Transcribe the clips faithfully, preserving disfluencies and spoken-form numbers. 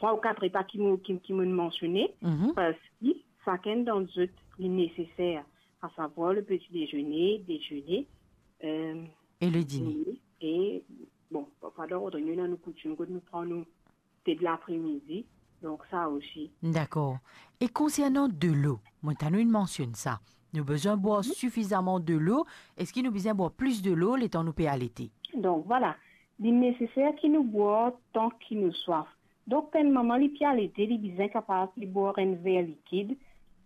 trwa ou kat repa ki mo, ki, ki mo'nn mansione, Mhm. parski sakenn dan zot li neseser, a savwar le petit déjeuner, déjeuner, euh, Et le dîner. dîner, e, bon, parfwa dan lord nou ena nou koutim kot nou pran nou te de lapremidi, donk sa osi. Dakor. E konsernan delo, mo tann ou'nn mansionn sa. Nou bizin bwar Mhm. sifizaman delo. Eski nou bizin bwar plis delo letan nou pe alete? Donk, vwala. Li neseser ki nou bwar tan ki nou swaf. Donk, enn mama li pe alete, li bizin kapav li bwar enn ver likid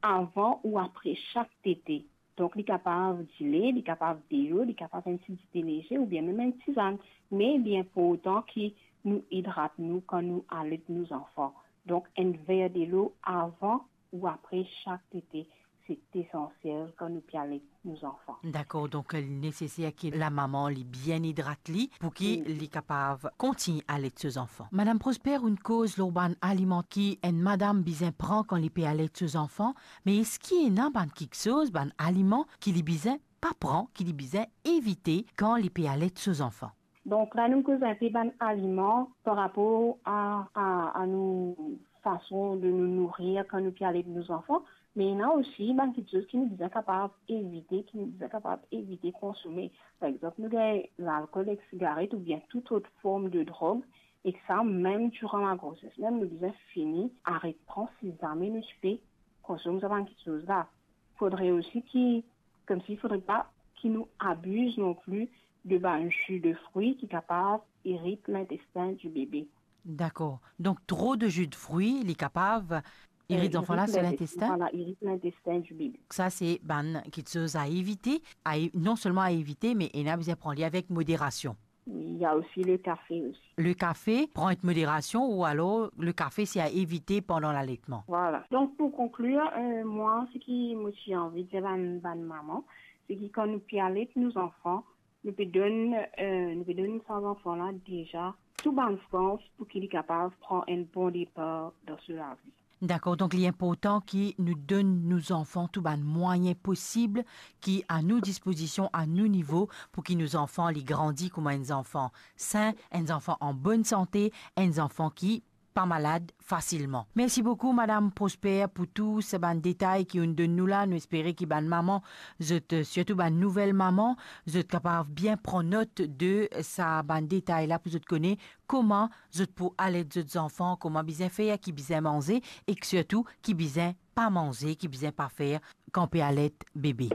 avan ou apre sak tete. Donk, li kapav dile, li kapav delo, li kapav enn ti dite leze oubien mem enn tizann. Me li inportan ki nou idrat nou kan nou alet nou zanfan. Donk, enn ver delo avan ou apre sak tete, se esansiel kan nou pe alet nou zanfan. Dakor, donk, li neseser ki lamama li bien idrat li pou ki Wi. li kapav kontign alet so zanfan. Madam Prosper, ou'nn koz lor bann aliman ki enn madam bizin pran kan li pe alet so zanfan, me eski ena bann kiksoz, bann aliman ki li bizin pa pran, ki li bizin evite kan li pe alet so zanfan? Donk, la nou koz inpe bann aliman par rapor a, a, a nou fason de nou nourir kan nou pe alet nou zanfan, me ena osi bann kiksoz ki nou bizin kapav evite, ki nou bizin kapav evite konsome. Par exanp, nou gagn lalkol ek sigaret oubien tou lor form de drog, e sa mem diran lagroses, mem nou bizin fini aret pran si zame nou ti pe konsome sa bann kiksoz la. Fodre osi ki, koumsi, fodre pa ki nou abiz non pli de bann zi de frwi ki kapav irit lintestin di bebe. Dakor. Donk, tro de zi de frwi, li kapav irit zanfan la so lintestin? Vwala, irit lintestin di bebe. Sa se bann kiksoz a evite, a e-, non selman a evite, me ena bizin pran li avek moderasion. Il y a aussi le café aussi. Le kafe, pran ek moderasion, ou alor le kafe se a evite pandan laletman. Vwala. Donk, pou konklir, euh, mwa, seki mo ti anvi dir bann, bann mama, se ki kan nou pe alet nou zanfan, nou pe donn, euh, nou pe donn sa zanfan la deza tou bann sans pou ki li kapav pran enn bon depar dan so lavi. Dakor, donk li inportan ki nou donn nou zanfan tou bann mwayin posib ki a nou dispozision, a nou nivo, pou ki nou zanfan li grandi kouma enn zanfan sin, enn zanfan an bonn sante, enn zanfan ki pa malad fasilman. Mersi boukou, Madam Prosper, pou tou sa bann detay ki ou'nn donn nou la. Nou espere ki bann mama, zot, sirtou bann nouvel mama, zot kapav bien pran not de sa bann detay la pou zot kone kouma zot pou alet zot zanfan, kouma bizin fer, ki bizin manze, ek sirtou ki bizin pa manze, ki bizin pa fer kan pe alet bebe.